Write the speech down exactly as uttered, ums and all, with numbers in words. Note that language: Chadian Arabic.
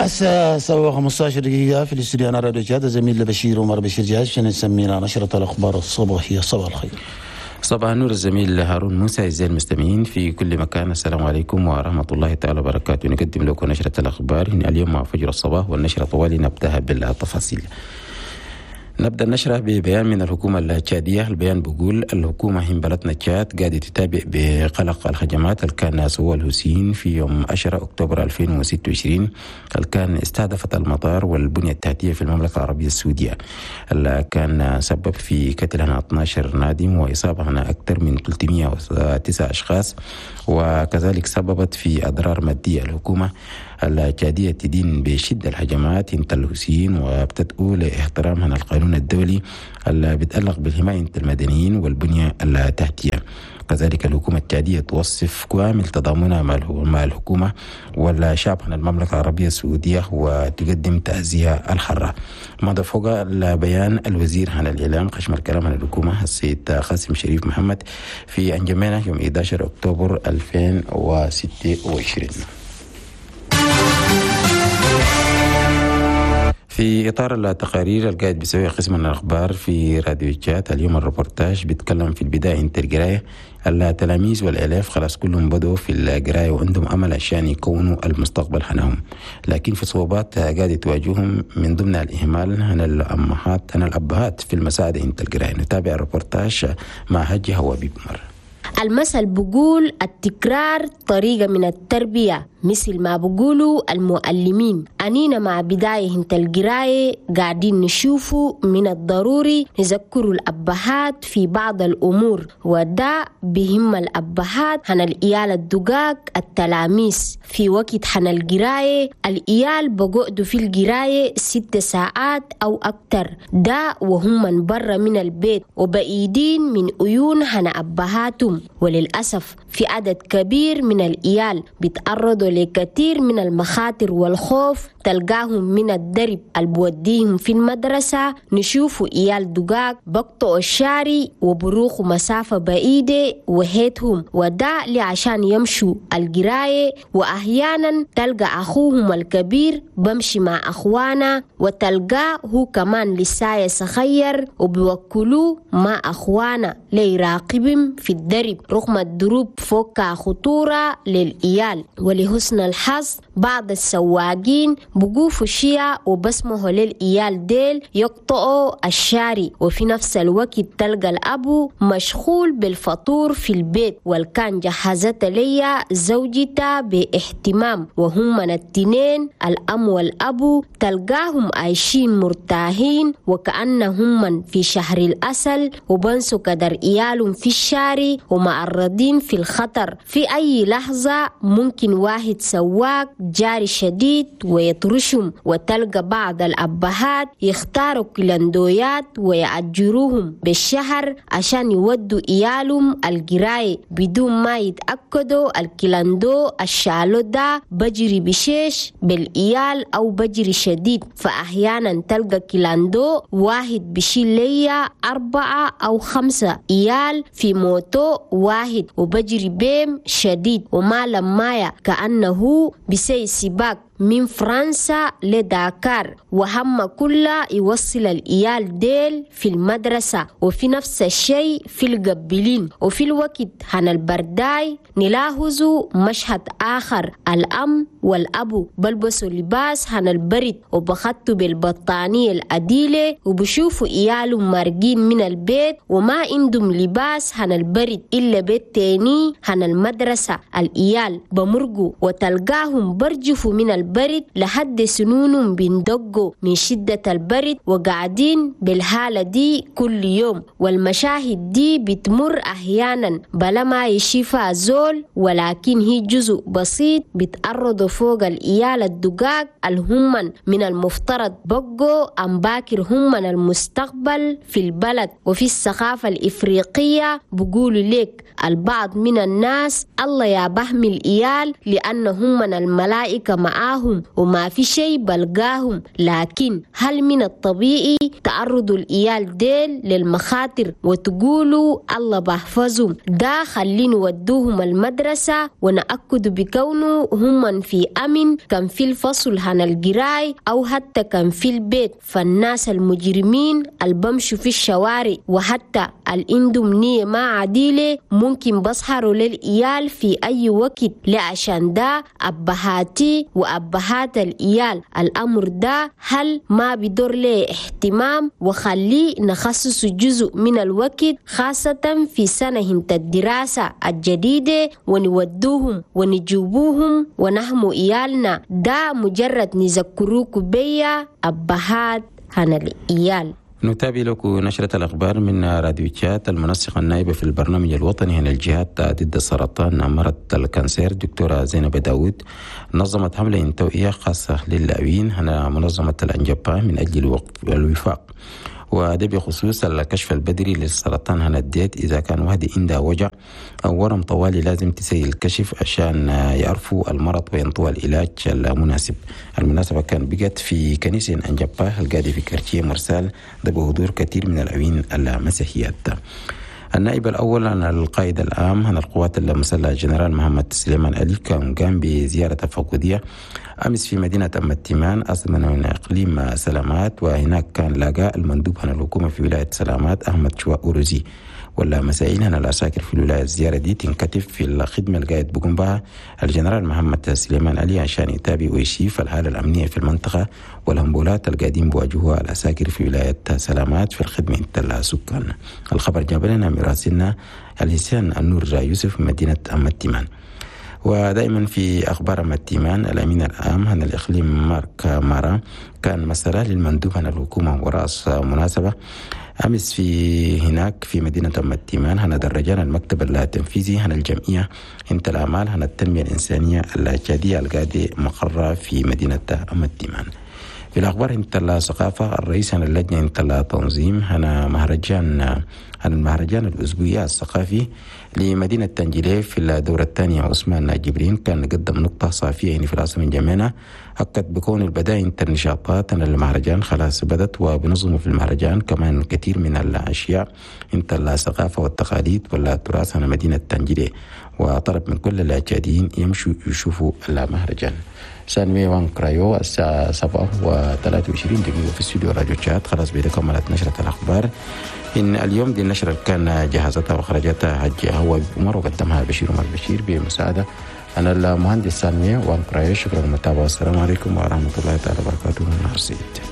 الساعة سبعة وخمسة عشر دقيقة في الاستوديو هنا راديو تشاد. زميل بشير عمر بشير جاهز عشان يسمينا نشرة الأخبار الصباحية. صباح الخير. صباح النور الزميل هارون موسى، أعزائي المستمعين في كل مكان، السلام عليكم ورحمة الله تعالى وبركاته. نقدم لكم نشرة الأخبار اليوم مع فجر الصباح، والنشرة طوالي نبدأها بالتفاصيل. نبدأ النشرة ببيان من الحكومة التشادية. البيان بيقول الحكومة هين بلدنا تشاد قاعدة تتابع بقلق الهجمات اللي كان سوى الحوثيين في يوم عشرة أكتوبر ألفين وستة وعشرين، اللي كان استهدفت المطار والبنية التحتية في المملكة العربية السعودية، اللي كان سبب في قتل اثنا عشر نادم وإصابة أكثر من ثلاثمية وتسعة أشخاص، وكذلك سببت في أضرار مادية. الحكومة التشادية تدين بشدة الهجمات انت الحوثيين، وبتدعو لاحترام القانون الدولي اللي بيتعلق بالحماية المدنيين والبنية التحتية. كذلك الحكومة التشادية توصف كامل تضامنها مع الحكومة والشعب هنا المملكة العربية السعودية، وتقدم تعزية الحارة. مضى فوق البيان الوزير هنا الإعلام خشم الكلام هنا الحكومة السيد قاسم شريف محمد في أنجمينا يوم إحدى عشر أكتوبر ألفين وستة وعشرين. في إطار التقارير القاعد بيسوي قسم الأخبار في راديو تشاد، اليوم الريبورتاج بيتكلم في البداية انت القراية. التلاميذ وال élèves خلاص كلهم بدوا في القراية وعندهم أمل عشان يكونوا المستقبل حنهم، لكن في صعوبات قاعدة تواجههم، من ضمن الإهمال هنا الأمهات هنا الأبهات في المساعدة انت القراية. نتابع الريبورتاج مع هجي هوابي بمر. المثل بقول التكرار طريقة من التربية، مثل ما بقولوا المعلمين. أنينا مع بداية انت القراية قاعدين نشوفوا من الضروري نذكروا الأبهات في بعض الأمور، وده بهم الأبهات هن الإيال الدقاق التلاميذ. في وقت حن القراية الإيال بقعدوا في القراية ست ساعات أو أكتر، ده وهم من برا من البيت وبعيدين من عيون هن أبهاتهم. وللأسف في عدد كبير من الإيال بيتعرضوا لكثير من المخاطر والخوف، تلقاهم من الدرب البوديهم في المدرسة نشوفوا إيال دقاق بقطعوا الشارع وبروحوا مسافة بعيدة وحيدهم، وده لعشان يمشوا القراية. وأحيانا تلقى أخوهم الكبير بمشي مع أخوانا، وتلقاه هو كمان لسايا صغير وبيوكلوه مع أخوانا ليراقبهم في الدرب، رغم الدروب فوقها خطورة للإيال. ولحسن الحظ بعض السواقين بقوفوا شيا وبسمحوا للإيال ديل يقطعوا الشارع، وفي نفس الوقت تلقى الأبو مشغول بالفطور في البيت والكان جهزت ليا زوجته باهتمام، وهم من التنين الأم والأبو تلقاهم عايشين مرتاحين وكأنهم من في شهر العسل، وبنسوا قدر إيالهم في الشارع ومعرضين في الخطر. في أي لحظة ممكن واحد سواق جاري شديد ويطرشهم. وتلقى بعض الأبهات يختاروا كلندويات ويأجروهم بالشهر عشان يودوا إيالهم القراية بدون ما يتأكدوا الكلندو الشالو ده بجري بشيش بالإيال أو بجري شديد. فأحيانا تلقى كلاندو واحد بشيل ليا أربعة أو خمسة إيال في موتو واحد وبجري بيم شديد وما لمايا، كأنه بسي سباق من فرنسا لداكار، وهم كلها يوصل الإيال ديل في المدرسة. وفي نفس الشيء في القبلين. وفي الوقت هن البرداي نلاحظ مشهد آخر: الأم والأبو بلبسوا لباس هن البرد وبخطوا بالبطانية العديلة، وبشوفوا إيالهم مارقين من البيت وما عندهم لباس هن البرد إلا بيت تاني هن المدرسة. الإيال بمرقوا وتلقاهم برجفوا من البرد لحد سنونهم بندقوا من شدة البرد، وقاعدين بالحالة دي كل يوم. والمشاهد دي بتمر أحيانا بلا ما يشوفها زول، ولكن هي جزء بسيط بتعرضوا فوق الإيال الدقاق الهمن من المفترض بقوا أم باكر هم من المستقبل في البلد. وفي الثقافة الإفريقية بقولوا لك البعض من الناس الله يا بحمي الإيال لأن هم من الملائكة معاهم. معاهم وما في شيء بلقاهم. لكن هل من الطبيعي تعرضوا الإيال ديل للمخاطر وتقولوا الله بحفظهم؟ ده خلينا ودوهم المدرسة ونأكد بكونه هم في أمن، كان في الفصل هنا الجراي أو حتى كان في البيت. فالناس المجرمين البمشوا في الشوارع وحتى الإندم نية ما عديلة ممكن بسهروا للإيال في أي وقت. لعشان ده أبهاتي وأبهات الإيال الأمر ده هل ما بدور ليه اهتمام، وخليه نخصص جزء من الوقت خاصة في سنة الدراسة الجديدة ونودوهم ونجيبوهم ونحمو إيالنا. ده مجرد نذكروك بيا أبهات هنا الإيال. نتابع لكم نشرة الأخبار من راديو تشاد. المنسقة النائبة في البرنامج الوطني هنا الجهات ضد السرطان مرض ال cancer دكتورة زينب داود نظمت حملة توعية خاصة للاعبين هنا منظمة الأنجبا من أجل الوفاق، وده بخصوص الكشف البدري للسرطان هنا الديت. إذا كان واحد عنده وجع أو ورم طوالي لازم تسوي الكشف عشان يعرفوا المرض وينطوا العلاج المناسب. المناسبة كان بقت في كنيسة أنجبا القاعدة في quartier مرسال، ده بحضور كثير من العوين المسيحيات. النائب الأول عن القائد العام عن القوات المسلحة جنرال محمد سليمان علي كان قام بزيارة تفقدية أمس في مدينة أم التيمان أصلا من إقليم سلامات، وهناك كان لاقى المندوب عن الحكومة في ولاية سلامات أحمد شواء أوروزي ولا مسائل هنا العساكر في الولاية. الزيارة دي تنكتف في الخدمة القائد بقوم بها الجنرال محمد سليمان علي عشان يتابع ويشيف الحالة الأمنية في المنطقة والهمبولات القادم بواجهها العساكر في ولاية سلامات في الخدمة السكان. الخبر جاب لنا مراسلنا الحسين النور يوسف من مدينة أم التيمان. ودائما في أخبار أم التيمان، الأمين العام عن الإقليم مارك مارا كان مسألة للمندوب عن الحكومة ورأس مناسبة أمس في هناك في مدينة أم التيمان هنا درجان المكتب التنفيذي هنا الجمعية انت الأعمال هنا التنمية الإنسانية الجادية القادة مقرة في مدينة أم التيمان. في الأخبار انت الثقافة، الرئيس هنا اللجنة انت التنظيم هنا مهرجان هنا المهرجان الأسبوعي الثقافي لمدينة تنجليف في الدورة الثانية عثمان جبرين كان قدم نقطة صافية يعني في العاصمة جمينة، أكد بكون البداية انت النشاطات أن المهرجان خلاص بدت وبنظمه في المهرجان كمان كثير من الأشياء انت الثقافة والتقاليد والتراث هنا مدينة تنجليف، وطلب من كل الأجادين يمشوا يشوفوا المهرجان. سانوي وان كرايو الساعة سبعة وثلاثة وعشرين دقيقة في استوديو راديو تشاد. خلاص بيدا كملت نشرة الأخبار. إن اليوم دي النشرة كان جهزتها وخرجتها حج هو عمر وقدمها بشير عمر بشير بمساعدة أنا المهندس سانوي وان كرايو. شكرا للمتابعة والسلام عليكم ورحمة الله تعالى وبركاته. نهار سعيد.